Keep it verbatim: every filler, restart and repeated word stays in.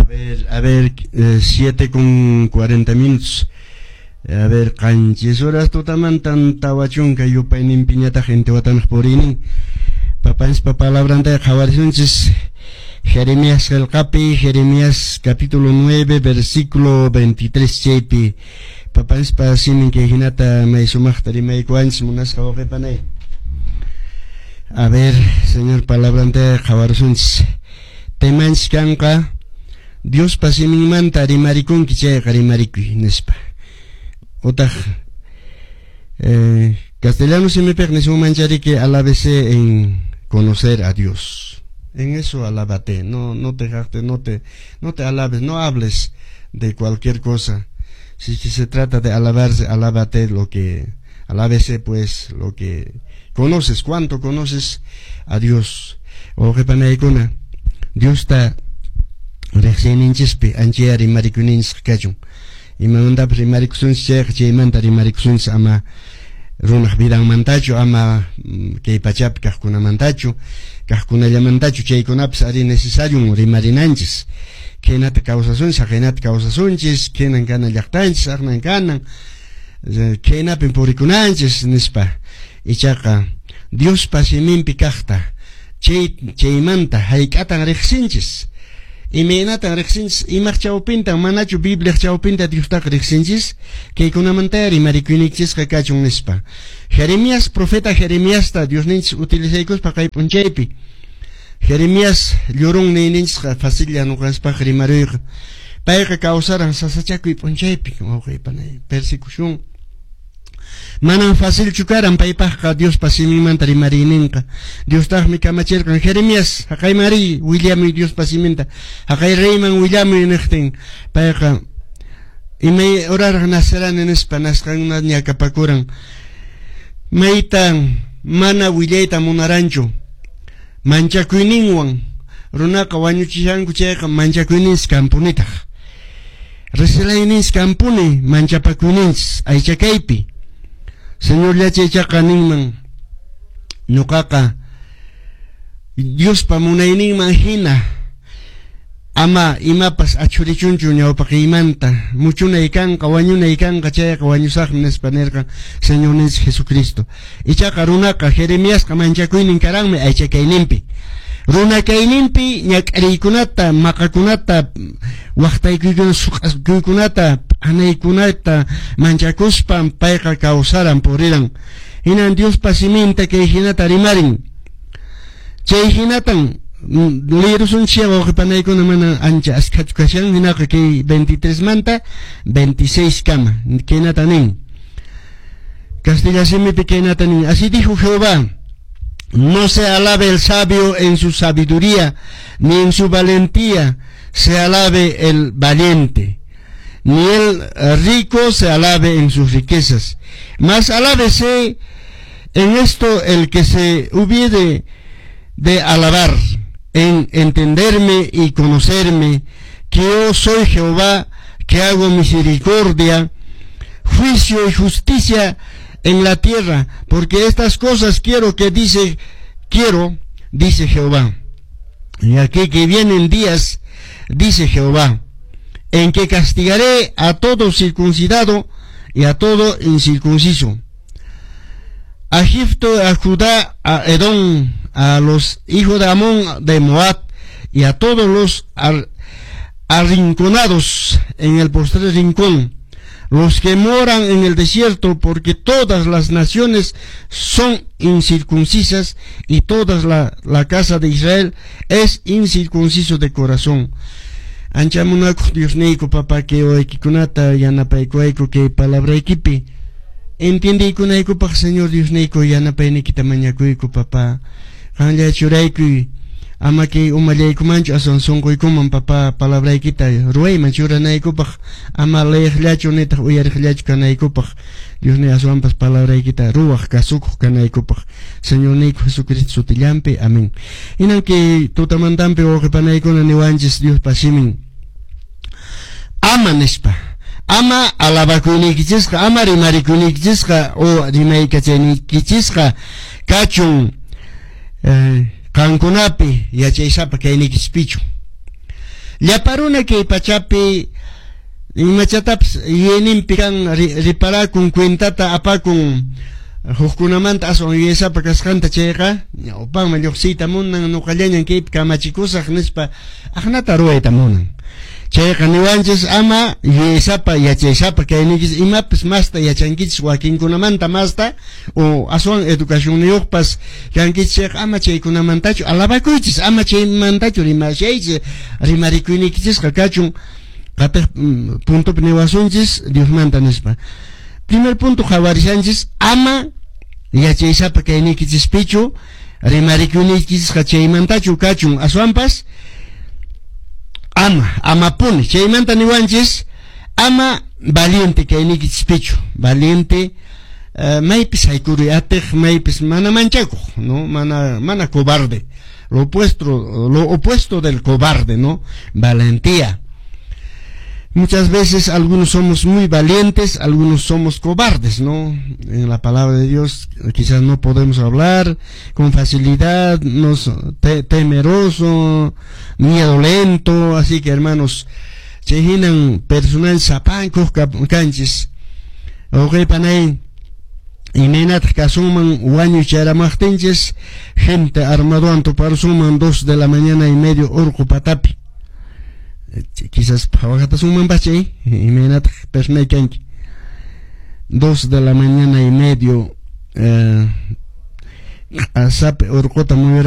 A ver, a ver, eh, siete con cuarenta minutos. A ver, qanchis horas tutamantan tawa chunka yupayninpiñataq Intihuatanaq puriynin. Papanchispa palabranta qhawarisunchis Jeremías qillqapi, Jeremías capítulo nueve, versículo veintitrés chaypi. Papanchispa simin kay hinata may sumaqta rimaykuwanchis, munasqa wawqipanay. A ver, Señor, palabranta qhawarisunchis. Temanchis kanqa Diospa siminmanta rimarikunki chayqa rimarikuy nispa. Utaq eh, castellano simipiq nisunman chariki alábese en conocer a Dios. En eso alábate, no, no te jactes, no te, no te alabes, no hables de cualquier cosa. Si se trata de alabarse, alábate lo que, alábese pues lo que conoces, cuánto conoces a Dios. Wawqipanaykuna, Diosta riqsiyninchispi anchaya rimarikuyninchis kachun. Imamantapas rimarikusunchis chayqa chaymanta rimarikusunchis, ama runaq vidanmantachu, ama kay pachapi kaqkunamantachu, kaqkunallamantachu, chaykunapas ari necesario rimarinanchis. Khaynata kawsasunchis, haqaynata kawsasunchis, khaynan kanan llaqtanchis, aqnan kanan, khaynapin purikunanchis nispa. Ichaqa Diospa siminpi kaqta chay chaymanta hayk'atan riqsinchis. Imaynatan riqsinchis, imaq chawpintan, manachu Bibliaq chawpinta Diostaqa riqsinchis, kaykunamanta rimarikuyniykichisqa kachun nispa. Jeremías, profeta Jeremiasta Diosninchis utilizaykuspa kay p'unchaypi. Jeremías llorón niyninchisqa facilla ñuqanchispaq rimaruyqa. Payqa kawsaran sasachakuy p'unchaypi, wawqipanay, persecución. Manan facilchu karan paypaqqa Diospa siminmanta rimariyninqa. Diostaqmi kamachirqan Jeremías, haqayman riy, willamuy Diospa siminta. Haqay reyman willamuy niqtin. Payqa imay horaraq nacerani nispa nasqanna ñakapakuran. Maytan mana willayta munaranchu. Manchakuyninwan runaqa wañuchishanku chayqa manchakuyninchis kanpunitaq. Resilayninchis kanpuni manchapakuyninchis aychakaypi. Señor llachaychaqa ninman ñuqaqa Diospa munayninman hina ama imapas achurichunchu ñawpaqiymanta muchunay kanqa wañunay kanqa chayqa wañusaqmi nispa nirqa Señorninchis Jesucristo. Ichaqa runaqa Jeremiasqa manchakuynin karanmi aychakayninpi. Runakayninpi ñak'ariykunata, maqakunata, waqtaykuykunata, suq'akuykunata, p'anaykunata manchakuspan payqa kawsaran puriran. Hinan Diospa siminta kay hinata rimarin. Chay hinatan lirusunchis wawqipanaykuna mana ancha askhachu kashan, hinaqa kay veintitrés manta veintiséis kama kaynata nin. Castilla simipi kaynata nin. Así dijo Jehová: no se alabe el sabio en su sabiduría, ni en su valentía se alabe el valiente, ni el rico se alabe en sus riquezas. Mas alábese en esto el que se hubiere de alabar, en entenderme y conocerme, que yo soy Jehová, que hago misericordia, juicio y justicia en la tierra, porque estas cosas quiero que dice, quiero, dice Jehová. Y aquí que vienen días, dice Jehová, en que castigaré a todo circuncidado y a todo incircunciso, a Egipto, a Judá, a Edom, a los hijos de Amón, de Moab, y a todos los ar arrinconados en el postrer rincón, los que moran en el desierto, porque todas las naciones son incircuncisas y toda la, la casa de Israel es incircunciso de corazón. Ancha munakuq Diosniyku papá kay wawaykikunata yanapaykuwayku kay palabraykipi entiendiykunaykupaq. Señor Diosniyku, yanapayniykita mañakuyku, papá. Qanlla churaykuy, ama kay umallaykumanchu, aswan sunquykuman, papá, palabraykita ruwayman churanaykupaq, ama leeqllachu nitaq uyariqllachu kanaykupaq, Diosniy, aswanpas palabraykita ruwaq kasukuq kanaykupaq, Señorniyku Jesucristo sutillanpi, amén. Hinan kay tutamantanpi, wawqipanaykuna, niwanchis Diospa simin ama nispa, ama alabakuyniykichisqa, ama rimarikuyniykinchisqa o rimaykachayniykichisqa kachun eh, qankunapi yachaysapa kayniykichispichu. Llapa runa kay pachapi imachatapis yuyayninpi kan riparakun, cuentata apakun hukkunamanta aswan yuyaysapa kasqanta chayqa ñawpanman lluqsiyta munan, nuqallañan kaypi kamachikusaq nispa aqnata ruwayta munan. Chayqa niwanchis ama yuyaysapa yachaysapa kayninchis, imapis masta yachankichis wakinkunamanta masta o aswan educacionniyuqpas kankichis chayqa ama chaykunamantachu alabakuychis, ama chaymantachu rimashaychis, rimarikuyniykichisqa kachun qatiq puntopi niwasunchis Diosmanta nispa. Primer punto qhawarishanchis ama yachaysapa kayniykichispichu rimarikuyniykichisqa chaymantachu kachun, aswanpas ama, amapuni chaymanta niwanchis ama valiente kayniykichispichu, valiente uh, maypis haykuruy atiq, maypis mana manchakuq, no, mana mana cobarde, lo opuesto, lo opuesto del cobarde, no, valentía. Muchas veces algunos somos muy valientes, algunos somos cobardes, ¿no? En la palabra de Dios quizás no podemos hablar con facilidad, nos te, temeroso, miedo lento, así que hermanos, chayhinan personal sapankuq kanchis. Wawqi panay, imaynataq kasunman wañuy charamaqtinchis, gente armadowan tuparusunman dos de la mañana y medio urqu patapi. Quizás phawakatasunmanpas chay, imaynataq personay kanki. Dos de la mañana y medio eh, asapi urquta muyura